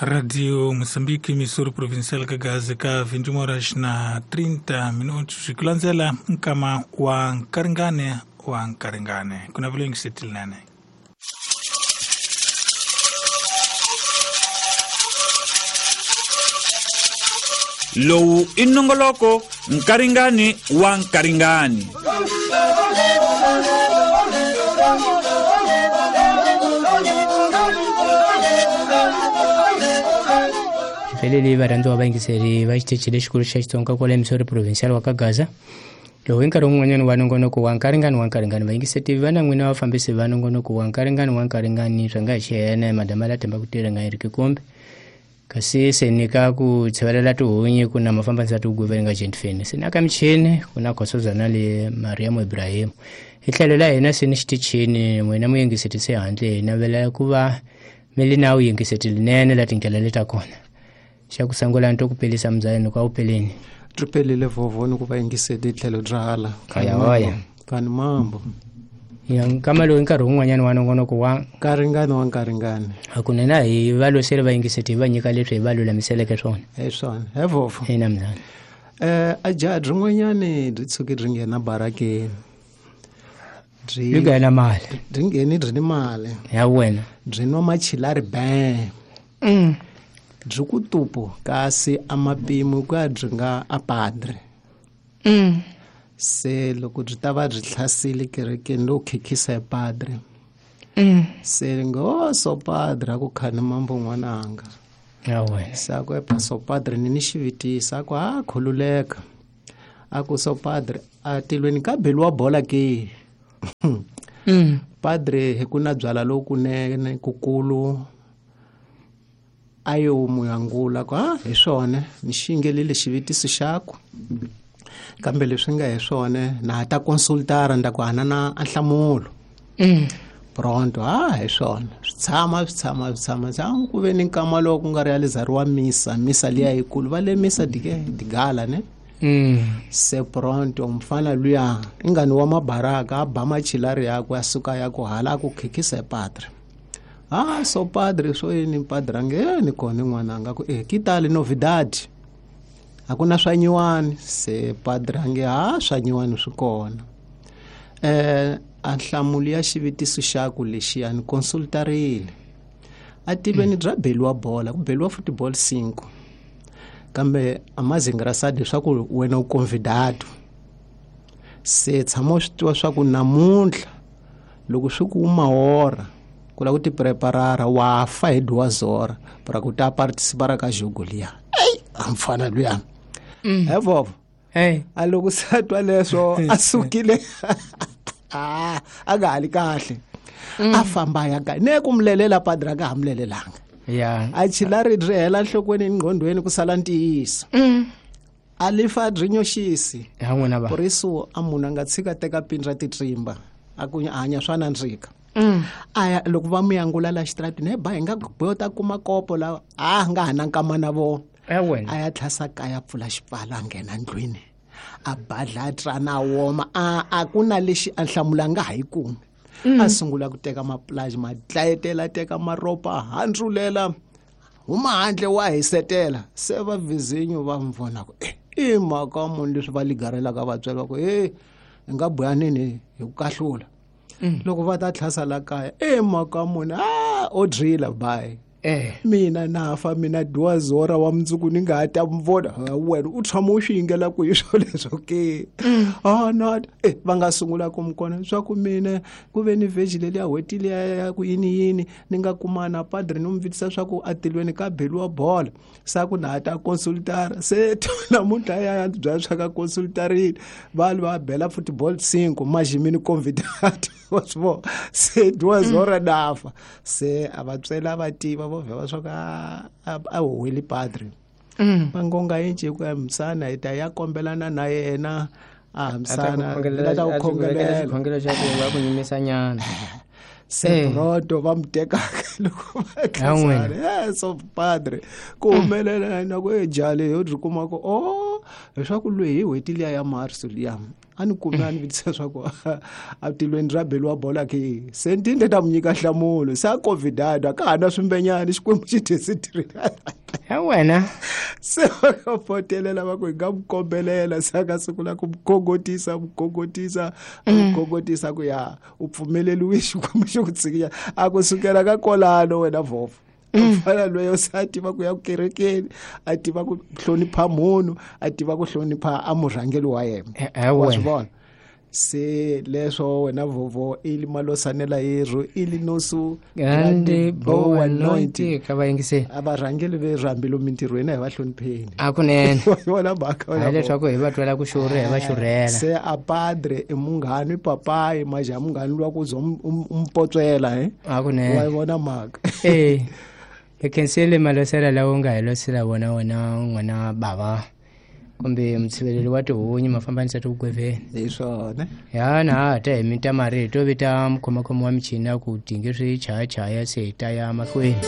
Radio Moçambique, emissora provincial Kagazi ka 21 horas na 30 minutos. Kulandzela nkama wa nkaringane wa nkaringane. Kuna vile ngisetilnane. Lowu i nongoloko nkaringani wa nkaringani. Felele varhandziwa vayingiseri va xitichi lexikulu xa Xitsonga kwale emisori provincial wa Kagaza. Lowu i nkarhi wun'wanyana wa nongonoko wa nkaringani wa nkaringani. Vayingiseti va na n'wina vafambisi va nongonoko wa nkaringani wa nkaringani swa nga hi xiyena madama la themba ku tirha nga Eric Kombe. Kasi se nyika ku tshivelela tihunyi ku na mafambisi ya tiguveni nga Gentfeni. Se na ka michini ku na Khosozana le Mariam Ibrahim. Hi tlhelo la hina se ni xitichini n'wina muyingiseti se handle hi navela ku va mi li na vuyingiseti linene la tindlela leta kona. Xa ku sungula nto ku pelisa mzayeni kwa upeleni. Tripelile vovoni ku va yingiseti tlhelo bya hala. Kaya hoya. Kani mambo. Ya nkama lowu nkarhi wun'wanyana wa nongonoko wa nkaringani wa nkaringani. Hakunene hi va losele va yingiseti hi va nyika leswi hi va lulamiseleke swona. Hi swona. He vovo. Ina mzana. A jaha rin'wanyani byi tshuke byi nghena barakeni. Byi nghena mali. Byi ngheni byi ni mali. Ya wena. Byi nwa machilari bang. Byi ku tupu kasi a mapimo ku ya byi nga a padre. Se loko byi ta va byi hlasile kerekeni lowu khikhisa hi padre. Se ngo so padre a ku khani mambo n'wananga. Ya wena. Se a ku epa so padre ni xivitisa a ku a khululeka. A ku so padre a tilweni ka beliwa bola ke. Padre hi ku na byala lokunene kukulu. Ayo muyangula ku ha hi swona ni xingelile xivitiso xaku kambe leswi nga hi swona na ta consultara nda ku hana na nhlamulo. Pronto ha hi swona swi tshama ku ve ni nkama lowu ku nga realizariwa misa liya yikulu va le misa dike digala ne. Se pronto mfana luya ingani wa mabaraka a ba machilari yakwe a suka ya ku hala ku khikhisa hi padre. Ah, so padre so yini padre ange ni kona n'wananga ku kitali novidade. Hakuna swa nyiwani se padre ange ha swa nyiwani swi kona. A nhlamulo ya xivitiso xaku lexiya ni consultarile. A tiveni bya beliwa bola ku beliwa football 5. Kambe amazingrasadi swa ku wena u convidado. Se tshama swi tiva swa ku namuntlha loko swi ku mahora ku la ku ti preparara wa fa hi duwazora para ku ta participar ka jogo liya. Ei, a mfana luya. He vovo. Hey, a loko sa twa leswo a sukile. A nga hali kahle. A famba ya ka. Ne ku mlelela padre ka hamlelelanga. Ya. A chilari ri hela nhlokweni ngqondweni ku sala ntiyiso. A lifa rinyoxisi. Ya n'wina va. Poriso a munhu a nga tshika teka pindra titrimba. A ku hanya swa nandzika. Aya loko va muyangula la xitratini he ba hi nga bota kuma kopo la a nga ha na nkama na vona. Ya wena. A ya tlhasa kaya pfula xipfala a nghena ndlwini a badla trana woma a ku na lexi a hlamula nga ha yi kumi. A sungula ku teka maplaji ma dlayetela teka maropa handzulela huma handle wa hisetela se va vizinyo va mvona ku i mhaka munhu leswi va ligarelaka vatswari va ku hi nga buyanini hi ku kahlula. Loko va ta tlhasa la kaya mhaka munhu o drila bye. Mina na fa mina duwazora wa mundzuku ni nga ha ta mvona wena u tshama u swi yingela ku hi swo leswo ke. No va nga sungula ku mi kona swa ku mina ku ve ni veggie leliya hweti liya ya ku yini yini ni nga kumana padre ni n'wi vitisa swa ku atilweni ka beliwa bola sa ku na ha ta consultara se namuntlha ya bya swa ka consultarile va va bela football 5 majimini convidado wa swi vona se duwazora nafa se a va tswela va tiva vo vheva swa ka a huweli padre. Va ngonga yinci ku ya misana hi ta ya kombelana na yena a hamisana la ta ku khongelela xikhongelo xa ku va ku nyimisa nyana. Se pronto va mi tekaka loko va khensana. Yes of padre ku humelela na ku ejale yo ri kuma ku o leswaku loyi hi n'hweti liya ya marso liya a ni kume a ni vutisa swa ku a tilweni ra beliwa bola ke se ni tinde ta mu nyika nhlamulo se a covidado a ka ha na swimbenyani Xikwembu xi desidirile. Ya wena. Se va ka fotelela va ku hi nga mu kombelela, se a ka sungula ku mu khongotisa, mu khongotisa, mu khongotisa ku ya u pfumeleliwe Xikwembu xi ku tshikinya. A ku sukela ka kolano wena vhofo mfana loyo se a tiva ku ya kerekeni, a tiva ku hlonipha munhu, a tiva ku hlonipha a murhangeli wa yena. Wa swi vona se leswo wena vovo ili malosanela yerhu ili nosu grande boa noite ka vayingiseli. A varhangeli verhu hambi mintirhweni a hi va hlonipheni. A kunene. Vona mhaka hayi leswaku hi va twela ku xurha, hi va xurhela. Se a padre i munghani, i papayi maja munghani luwa ku za u mpotswela he. A kunene. Wa yi vona mhaka. Eh, hi khensile malosela lawa u nga hi losela wona, wena n'wana bava kumbe mutshiveleli wa tihunyi mafambanisa tivugweveni. Hi swona. Ya na ha ta hi mita marito vita mukhomakhomi wa michini ya ku dinge swi chayachaya se hi ta ya mahlweni.